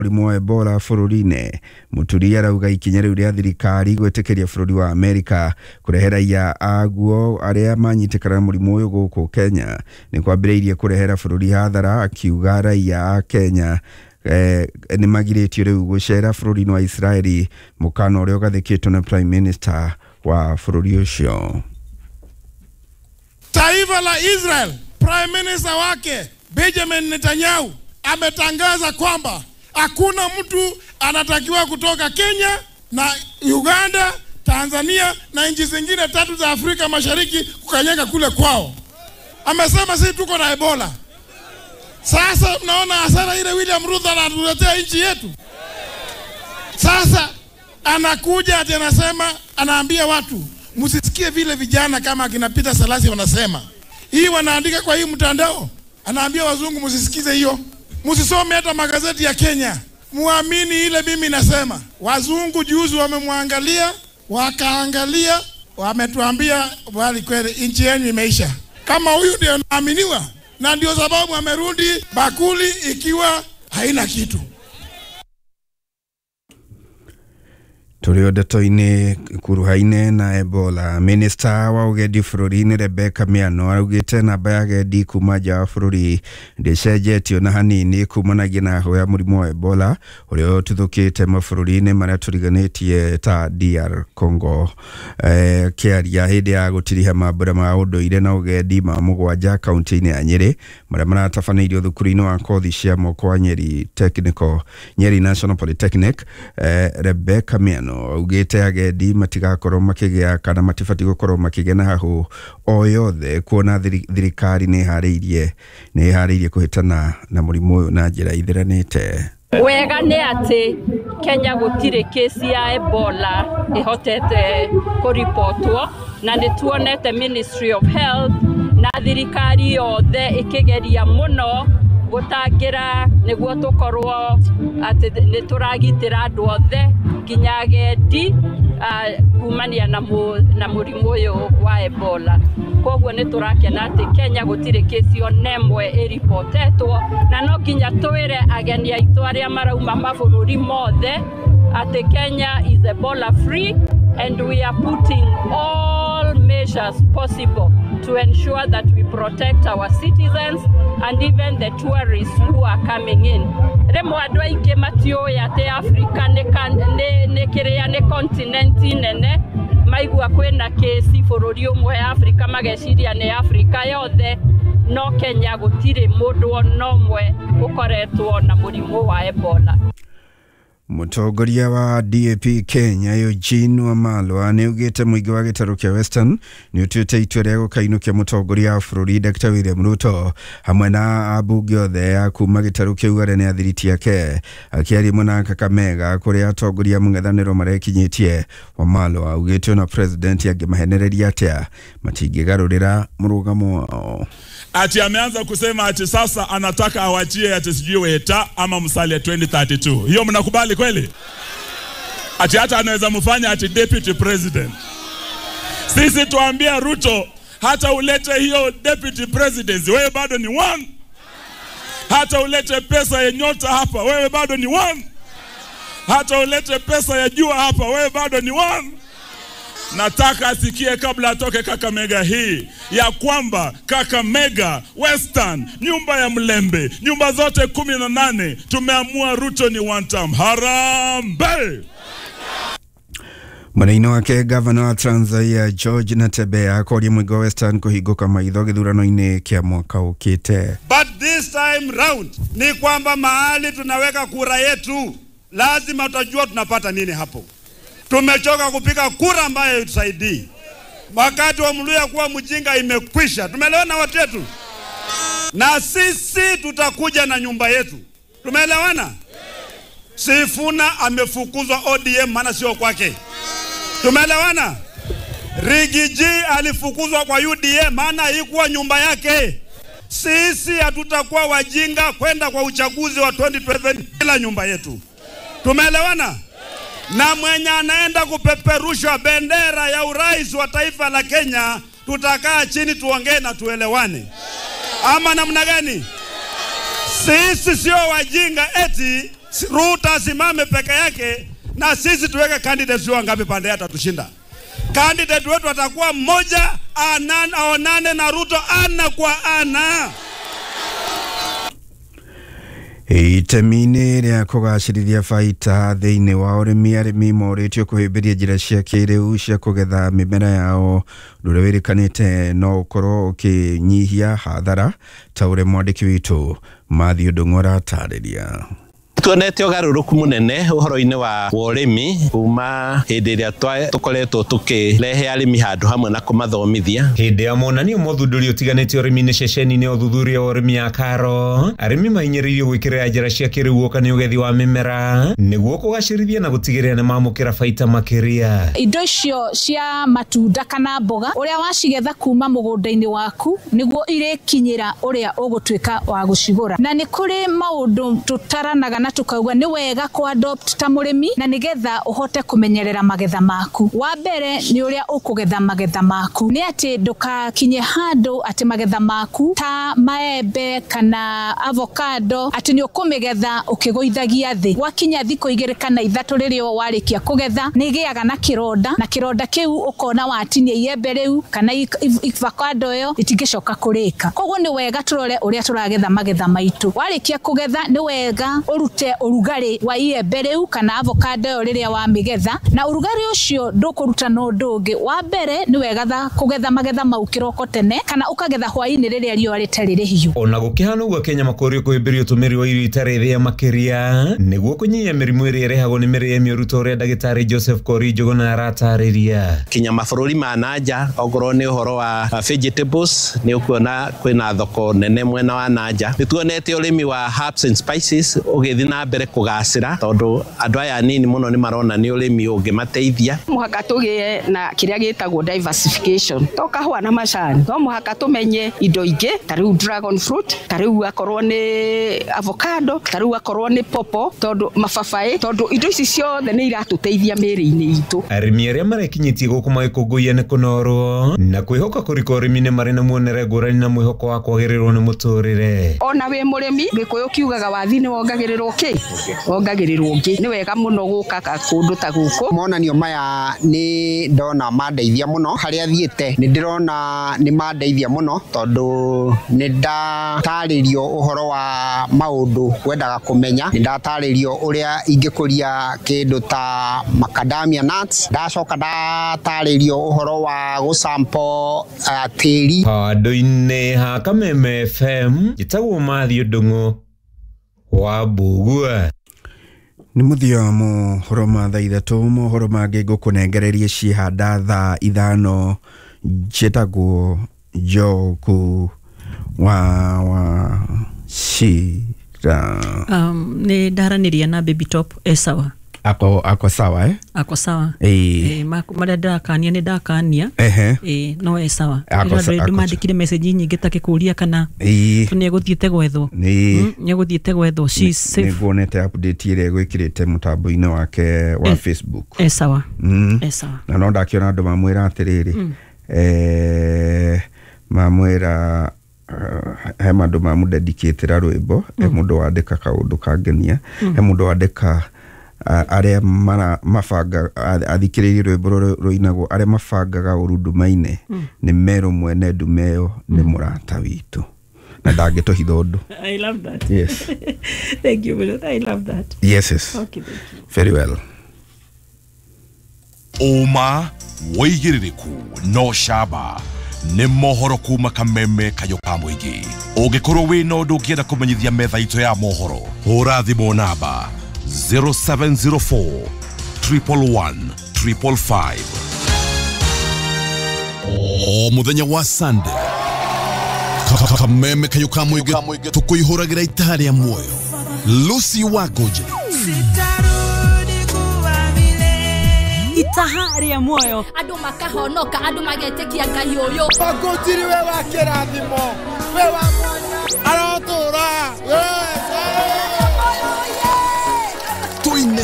Mũrimũ wa Ebola bũrũri-inĩ. Mũturi arauga ikinya rĩu rĩa thirikari gwĩtĩkĩria bũrũri wa Amerika kũrehe raia aguo arĩa manyitĩkana na mũrimũ ũyũ gũkũ Kenya nĩ kwambĩrĩirie kũrehera bũrũri hathara, akiuga raia a Kenya nĩ magirĩtio rĩu gũcera bũrũri-inĩ wa Israeli, mũkana ũrĩa ũgathĩkĩtwo na Prime Minister wa bũrũri ũcio. Taifa la Israel, Prime Minister wake Benjamin Netanyahu ametangaza kwamba hakuna mtu anatakiwa kutoka Kenya na Uganda, Tanzania na nchi zingine tatu za Afrika Mashariki kukanyaga kule kwao. Amesema sisi tuko na Ebola. Sasa mnaona hasara ile William Ruto anatuletea nchi yetu. Sasa anakuja ati anasema, anaambia watu msisikie vile vijana kama akina Peter Salasi wanasema. Hii wanaandika kwa hii mtandao. Anaambia wazungu msisikize hiyo. Msisome hata magazeti ya Kenya. Muamini ile mimi nasema. Wazungu juzi wamemwangalia, wakaangalia, wametuambia bali kweli nchi yenu imeisha. Kama huyu ndio anaaminiwa, na ndio sababu amerudi bakuli ikiwa haina kitu. Tũrĩ o ndeto-inĩ kuruha-inĩ na Ebola, Minista wa ũgendi bũrũri-inĩ Rebecca Miano araugĩte namba ya agendi kuma nja wa bũrũri ndĩcenjetio na hanini kumanagia na heho ya mũrimũ wa Ebola ũrĩa ũtuthũkĩte mabũrũri-inĩ marĩa tũriganĩtie ta DR Congo. Kĩaria hĩndĩ ya gũtiriha mambũra ma ũndũire na ũgendi ma mũgwanja kaunti-inĩ ya Nyĩrĩ marĩa maratabanĩirio thukuru-inĩ wa kothi cia moko wa Nyeri Technical, Nyeri National Polytechnic, Rebecca Miano augĩte agendi matigakorwo makĩgĩa kana matibatiĩ gũkorwo makĩgĩa na hahũ o yothe kuona thirikari nĩ ĩharĩirie kũhĩtana na mũrimũ ũyũ na njĩra itheranĩte. Wega nĩ atĩ Kenya gũtirĩ kesi ya Ebola ĩhotete kũribotwo, na nĩ tuonete Ministry of Health na thirikari yothe ĩkĩgeria mũno gũtangĩra nĩguo tũkorwo atĩ nĩ tũragitĩra andũ othe nginya agendi kumania na mũrimũ ũyũ wa Ebola. Koguo nĩ tũrakena atĩ Kenya gũtirĩ kesi ona ĩmwe ĩribotetwo, na no nginya twĩre ageni aitũ arĩa marauma mabũrũri mothe atĩ Kenya is Ebola free and we are putting all measures possible to ensure that we protect our citizens and even the tourists who are coming in. Rĩmwe andũ aingĩ matiũĩ atĩ Africa nĩ kĩrĩa nĩ continent nene, maigua kwĩna kesi bũrũri ũmwe Africa mageciria nĩ Africa yothe, no Kenya gũtirĩ mũndũ ona ũmwe ũkoretwo na mũrimũ wa Ebola. Mũtongoria wa DAP Kenya Eugene Wamalwa nĩ augĩte mũingĩ wa gĩtarũ kĩa Western nĩ ũtuĩte itua rĩa gũkainũkia mũtongoria wa bũrũri Dr. William Ruto hamwe na ambunge othe a kuma gĩtarũ kĩu arĩa nĩ athiriti ake. Akĩaria mwena wa Kakamega kũrĩa atongoria mũng'ethanĩro marekinyĩtie, Wamalwa augĩte ona president angĩmahenereria atĩa matingĩgarũrĩra mũrũgamo wao. Ati ameanza kusema ati sasa anataka awachie ati sijui Weta ama Musalia 2032. Hiyo mnakubali kweli? Ati hata anaweza mfanya ati deputy president. Sisi tuambia Ruto, hata ulete hiyo deputy presidency, wewe bado ni one. Hata ulete pesa ya nyota hapa, wewe bado ni one. Hata ulete pesa ya jua hapa, wewe bado ni one. Nataka asikie kabla atoke Kakamega hii ya kwamba Kakamega, Western, nyumba ya Mlembe, nyumba zote 18 tumeamua Ruto ni one term. Harambee! Mwena-inĩ wake gavana wa Trans Nzoia George Natembeya akoria mũingĩ wa Western kũhingũka maitho gĩthurano-inĩ kĩa mwaka ũkĩte. But this time round ni kwamba mahali tunaweka kura yetu lazima tutajua tunapata nini hapo. Tumechoka kupiga kura ambayo haitusaidii. Wakati wa Mluya kuwa mjinga imekwisha. Tumeelewana watu wetu? Na sisi tutakuja na nyumba yetu. Tumeelewana? Sifuna amefukuzwa ODM maana sio kwake. Tumeelewana? Rigiji alifukuzwa kwa UDM maana haikuwa nyumba yake. Sisi hatutakuwa wajinga kwenda kwa uchaguzi wa 2027 bila nyumba yetu. Tumeelewana? Na mwenye anaenda kupeperusha bendera ya urais wa taifa la Kenya, tutakaa chini tuongee na tuelewane. Ama namna gani? Sisi sio wajinga eti Ruto asimame peke yake na sisi tuweke candidates wangapi pande atatushinda. Candidate wetu atakuwa mmoja, aonane na Ruto ana kwa ana. Itemi-inĩ rĩa kũgacĩrithia baita thĩinĩ wa ũrĩmi, arĩmi morĩtio kũhĩmbĩria njĩra cia kĩrĩu cia kũgetha mĩmera yao, ũndũ ũrĩa wĩrĩkanĩte no ũkorwo ũkĩnyihia hathara ta ũrĩa mwandĩki witũ Matthew Ndung'u aratarĩria. Tuonete ũgarũrũku mũnene ũhoro-inĩ wa ũrĩmi kuma hĩndĩ ĩrĩa tũkoretwo tũkĩrehe arĩmi handũ hamwe na kũmathomithia. Hĩndĩ ya monanio mothundũri ũtiganĩte ũrĩmi-inĩ ceceni-inĩ ya ũthuthuria wa ũrĩmi ya Karo, arĩmi mahinyĩrĩirio gwĩkĩrĩra njĩra cia kĩrĩu guoka nĩ ũgethi wa mĩmera nĩguo kũgacĩrithia na gũtigĩrĩra nĩ mamũkĩra baita makĩria. Indo icio cia matunda kana mboga ũrĩa wacigetha kuma mũgũnda-inĩ waku nĩguo irĩkinyĩra ũrĩa ũgũtuĩka wa gũcigũra, na nĩ kũrĩ maũndũ tũtaranaga na tukauga nĩ wega ku adopt ta mũrĩmi na nĩgetha ũhote kũmenyerera magetha maku. Wa mbere nĩ ũrĩa ũkũgetha magetha maku, nĩ atĩ ndũkakinye handũ atĩ magetha maku ta maembe kana avocado atĩ nĩ ũkũmĩgetha ũkĩgũithagia thĩ. Wakinya thikũ 2 kana 3 rĩrĩa warĩkia kũgetha nĩ ĩgĩaga na kĩronda, na kĩronda kĩu ũkona watinia iembe rĩu kana avocado ĩyo itingĩcoka kũrĩka. Koguo nĩ wega tũrore ũrĩa tũragetha magetha maitũ. Warĩkia kũgetha nĩ wega ũrute ũrugarĩ wa iembe rĩu kana avocado ĩyo rĩrĩa wamĩgetha, na ũrugarĩ ũcio ndũkũruta na ũndũ ũngĩ. Wa mbere nĩ wega kũgetha magetha mau kĩroko tene kana ũkagetha hwaĩ-inĩ rĩrĩa riũa rĩtarĩ rĩhiũ. Ona gũkĩhana ũguo, Kenya makũrio kũhĩmbĩria ũtũmĩri wa irio itarĩ thĩa makĩria nĩguo kũnyihia mĩrimũ ĩrĩa ĩrehagwo nĩ mĩrĩre mĩũru ta ũrĩa ndagĩtarĩ Joseph Kori Njuguna aratarĩria. Kinya mabũrũri ma nanja ongorwo nĩ ũhoro wa vegetables nĩ ũkuona kwĩna thoko nene mwena wa nanja. Nĩ tuonete ũrĩmi wa herbs and spices ũgĩthiĩ na mbere kũgacĩra tondũ andũ aya anini mũno nĩ marona nĩ ũrĩmi ũngĩmateithia. Mũhaka tũgĩe na kĩrĩa gĩtagwo diversification, to kahũa na macani, no mũhaka tũmenye indo ingĩ ta rĩu dragon fruit, ta rĩu akorwo nĩ avocado, ta rĩu akorwo nĩ popo, tondũ mababaĩ, tondũ indo ici ciothe nĩ iratũteithia mĩĩrĩ-inĩ itũ. Arĩmi arĩa marekinyĩtie gũkũ magĩkũngũiya nĩ kũnorwo na kwĩhoka kũrika ũrĩmi-inĩ marĩ na muonere ngũrani na mwĩhoko wa kwagĩrĩrwo nĩ mũtũrĩre. Ona wĩ mũrĩmi, Gĩkũyũ kiugaga wathi nĩ wongagĩrĩrwo kĩ wongagĩrĩrwo ũngĩ. Nĩ wega mũno gũka kũndũ ta gũkũ. Monanio maya nĩ ndona mandeithia mũno harĩa thiĩte, nĩ ndĩrona nĩ mandeithia mũno tondũ nĩ ndatarĩrio ũhoro wa maũndũ wendaga kũmenya, nĩ ndatarĩrio ũrĩa ingĩkũria kĩndũ ta macadamia nuts, ndacoka ndatarĩrio ũhoro wa gũsampo tĩri. Handũ-inĩ ha Kameme FM njĩtagwo Matthew Ndung'u wa Mbugua. Nĩ mũthia wa mohoro ma thaa 3, mohoro mangĩ ngũkũnengererie ciĩhanda thaa 5. Njĩtagwo Njogu wa Wachira. Nĩ ndaranĩria na Baby Top e sawa. Ako sawa eh? Ako sawa. Marĩa ndakania nĩ ndakania. No e sawa. Ndĩmandĩkire message nyingĩ ta kĩkũria kana nĩ egũthiĩte gwethwo. Nĩ egũthiĩte gwethwo. She is safe. Nĩnguonete update ĩrĩa ĩgwĩkĩrĩte mũtambo-inĩ wake wa Facebook. E sawa. E sawa. Na no ndakĩona andũ mamwĩra atĩrĩrĩ. Mamwĩra he mandũ mamũdedicatĩra rwĩmbo, he mũndũ wandĩka kaũndũ kangenia, he mũndũ wandĩka arĩa mabanga athikĩrĩirie rwĩmbo rũrũ rũinagwo arĩa mabangaga ũru nduma-inĩ nĩ merũ mwene ndume ĩyo nĩ mũrata witũ na ndangĩtũhitha ũndũ. I love that. Yes. Thank you, Willow. I love that. Yes, yes. Okay, thank you. Very well. Ũma wĩigĩrĩrĩku no camba nĩ mohoro kuma Kameme Kayũ ka mũingĩ. Ũngĩkorwo wĩna ũndũ ũngĩenda kũmenyithia metha itũ ya mohoro, hũra thimũ namba 0704 111 555. O mũthenya wa Sunday, Kameme Kayũ ka mũingĩ tũkũihũragĩra itaha rĩa muoyo. Lucy Wangũnjĩri itaha rĩa muoyo, andũ makahonoka, andũ magetĩkia Ngai ũyũ. Wangũnjĩri we wa kĩrathimo, we wa mwanya, arotũra. Yes. Tuine